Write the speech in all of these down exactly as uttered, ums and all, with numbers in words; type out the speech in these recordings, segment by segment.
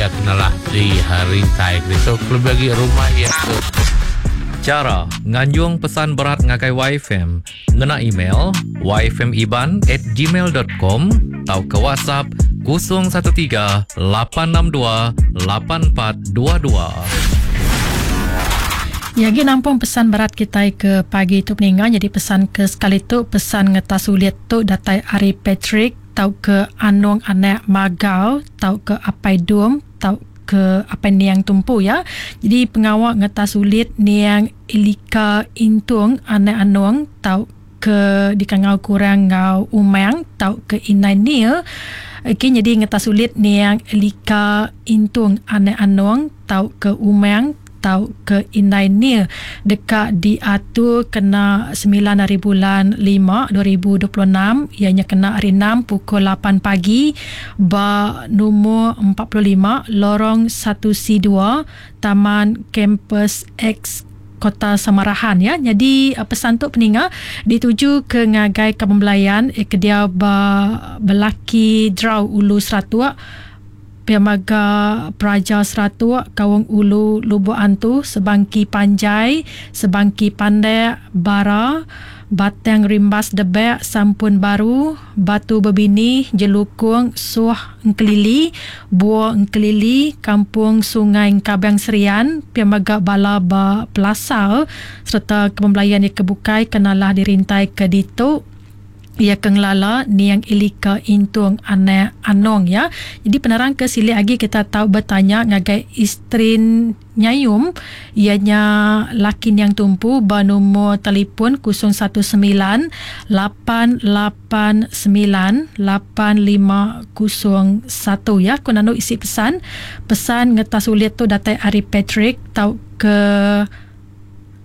iya kenalah di rintai ditu kelebih agi rumah iya ke Chara nganjung pesan berat ngagai Y F M ngena email y f m iban at gmail dot com tauka WhatsApp kosong satu tiga lapan enam dua lapan empat dua dua. Ya, lagi nampung pesan berat kita ke pagi tu peninggal. Jadi pesan ke sekali tu pesan ngetas sulit tu datai ari Patrick tau ke Anung anak Magau tau ke Apai Dum tau ke Apai Niang Tumpu ya. Jadi pengawak ngetas sulit Niang Elika Intung anak Anung tau ke dikangau kurang ngau Umang tau ke Inai Nil. Okey, jadi ngetas sulit Niang Elika Intung anak Anung tau ke Umang tau ke Indai Nil dekat diatur kena sembilan hari bulan lima dua ribu dua puluh enam, ianya kena hari enam pukul lapan pagi ba nombor empat puluh lima lorong satu C dua Taman Kampus X Kota Samarahan ya. Jadi pesan tu peninga dituju ke ngagai Kampung Belayan eh, ke dia ba Belaki Drau Ulu Seratuk Piamaga Praja Seratuk Kawang Ulu Lubuk Antu Sebangki Panjai Sebangki Pandek Bara Batang Rimbas Debek Sampun Baru Batu Bebini Jelukung Suh Engkelili Bua Engkelili Kampung Sungai Kabang Serian Piamaga Bala Ba Pelasar serta kepembelayan yang kebukai kenalah dirintai ke ditu ia kengelala Niang Elika Intung anak Anong ya. Jadi penerang ke sili lagi kita tahu bertanya ngagai isteri Nyayum ianya laki Niang Tumpu ba nombor telefon kosong satu sembilan lapan lapan sembilan lapan lima kosong satu ya. Ku nanu isi pesan. Pesan ngetas ulit tu datai ari Patrick tau ke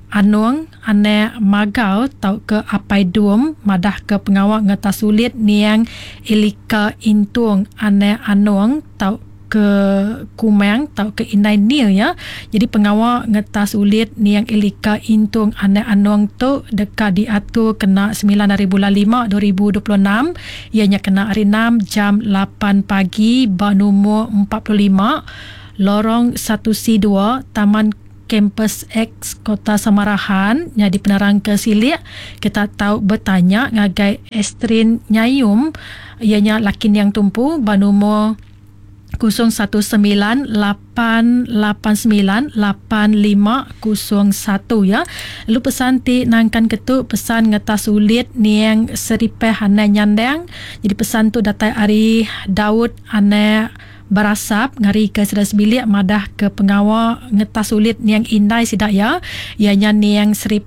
Anung anak Magau tau ke Apai Dum madah ke pengawak ngetas sulit Niang Elika Intung anak Anung tau ke Kumang tau ke Indai Nil ya. Jadi pengawak ngetas sulit Niang Elika Intung anak Anung tu dekat diatur kena sembilan hari bulan lima dua ribu dua puluh enam, ianya kena hari enam jam lapan pagi ba nombor empat puluh lima lorong satu C dua Taman Kampus X Kota Samarahan. Jadi penerang ke silik kita tahu bertanya ngagai Estrin Nyayum ianya laki Niang Tumpu ba nombor kosong satu sembilan lapan lapan sembilan lapan lima kosong satu ya. Lalu pesan ti nangkan ketuk pesan ngetas sulit Niang Seripeh anak Nyandang. Jadi pesan tu datai ari Daud anak Berasap ngari ke sedas bilik madah ke pengawak ngetas sulit Niang Indai sidak ya. Ianya Niang Seripeh